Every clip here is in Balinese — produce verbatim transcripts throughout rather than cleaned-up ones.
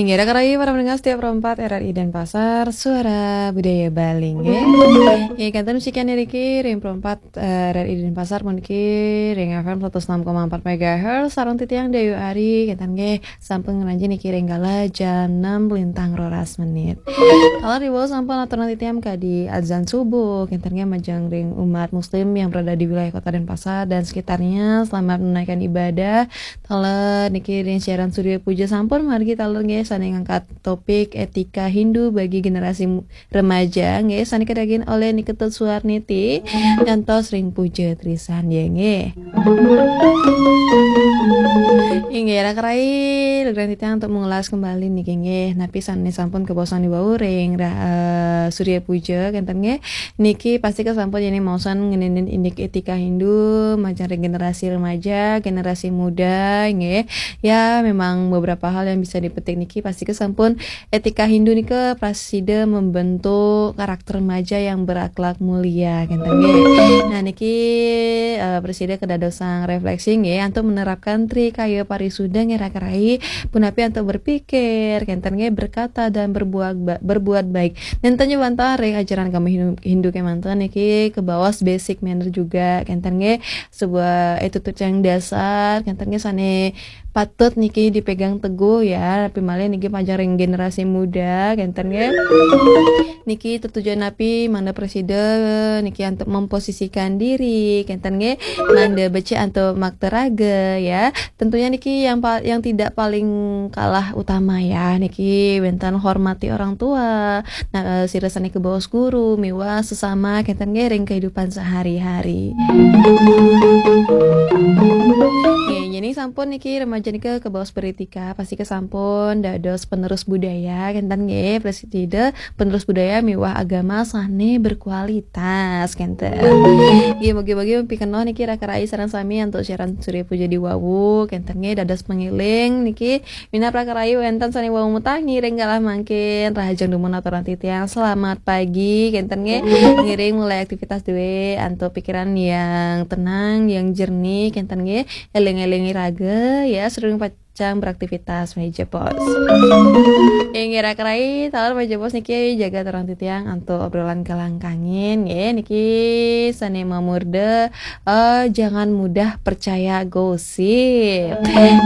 Nggih, raka rayi para pendengar setia Pro empat R R I Denpasar, suara budaya Bali, nggih. Nggih, kenten sekian niki ring Pro empat, eh, R R I Denpasar puniki ring F M seratus enam koma empat megahertz, sareng titiang Dayu Ari, kenten nggih sampun ngranjing niki ring galah jam enam lintang roras menit. Kalau riwau sampun aturan titiang kadi azan subuh, kenten nggih majeng ring umat muslim yang berada di wilayah Kota Denpasar dan sekitarnya, selamat menunaikan ibadah. Taler niki ring siaran Surya Puja sampun margi taler nggih, sane ngangkat topik etika Hindu bagi generasi mu-, remaja nggih, sane kadaging oleh Ni Ketut Suarniti ngantos ring Puja Trisandya nggih. Inggih, raka rayi, lugrayang titiang untuk mengulas kembali niki nggih, napi sane sampun kabaosang wau ring ra-, eh, Surya Puja kenten nggih. Niki pasti kesampun yen maosan ngeninin indik etika Hindu, majeng ring generasi remaja, generasi muda, nggih. Ya, memang beberapa hal yang bisa dipetik niki pasti kesampun etika Hindu nika prasida membentuk karakter remaja yang berakhlak mulia, kenten nggih. Nah, niki, eh, prasida kedadosang refleksi nggih, antuk menerapkan Tri Kaya Parisuda nggih raka rayi, punapi antuk berpikir, kenten nggih, berkata dan berbuat ba-, berbuat baik. Nenten nyuwun ring ajaran agama Hindu, Hindu kemanten niki kabaos basic manner juga, kenten nggih, sebuah attitude yang dasar, kenten nggih sane patut niki dipegang teguh ya, napi malih niki majeng ring generasi muda, kenten nggih. Niki tetujon napi mangda prasida niki antuk memposisikan diri, kenten nggih, mangda becik antuk makta raga ya. Tentunya niki yang pa-, yang tidak paling kalah utama ya, niki wenten hormati orang tua, nah, eh, sira sane kabaos guru miwah sesama kenten nggih ring kehidupan sehari-hari. Nggih, yen sampun niki remaja nika kabaos beretika, pasti kesampun dados penerus budaya, kenten nggih, prasida penerus budaya miwah agama sane berkualitas, kenten. Nggih, mugi-mugi pikenoh niki raka rayi sareng sami antuk siaran Surya Puja diwawu, kenten nggih, dados pengiling niki minab raka rayi wenten sane wau matangi ring galah mangkin, rahajeng dumun aturan titiang selamat pagi, kenten nggih, ngiring mulai aktivitas due antuk pikiran yang tenang, yang jernih, kenten nggih, eling-elingi raga ya, sedurung pacang beraktivitas, meja pos. Inggih raka rayi, taler meja pos niki jaga aturan titiang antuk obrolan galang kangin nggih, niki sane mamurda, eh, jangan mudah percaya gosip.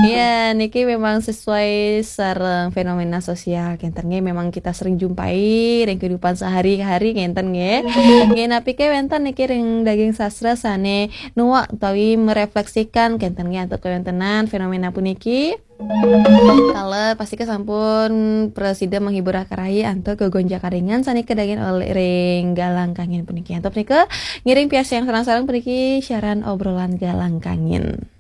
Ya, niki memang sesuai sareng fenomena sosial kenten nggih, memang kita sering jumpai ring kehidupan sehari-hari kenten nggih. Nggih, napi ke wenten niki ring daging sastra sane nuak utawi merefleksikan kenten nggih antuk kawentenan fenomena puniki. Taler pasti kesampun prasida menghibur raka rayi antuk gegonjakan ringan sane kadaging oleh ring galang kangin puniki. Antuk punika ngiring piarsayang sareng-sareng puniki siaran obrolan galang kangin.